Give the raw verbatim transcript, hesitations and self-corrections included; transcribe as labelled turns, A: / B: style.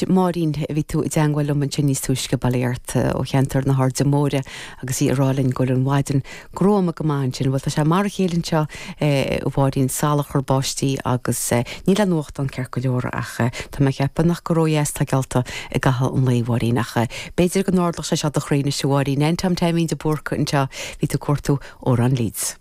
A: Anois Máirín bhí tú i dteagmháil liom ansin níos túisce bailíart ó cheantar na hAirde Móire agus í ag rá linn go bhfuil an mhaidin gruama go maith ansin, bhuel tá sé mar a chéile anseo a Mháirín salachar báistí agus níl an nuachtán ceart go leor ach tá mé ag ceapadh nach go ródheas atá geallta i gcaitheamh an lae Mháirín ach b'fhéidir go n-ardódh sé seo do chroí anois a Mháirín. Tom Taimín de Búrca anseo bhí tú ag cuartú Amhrán Leeds.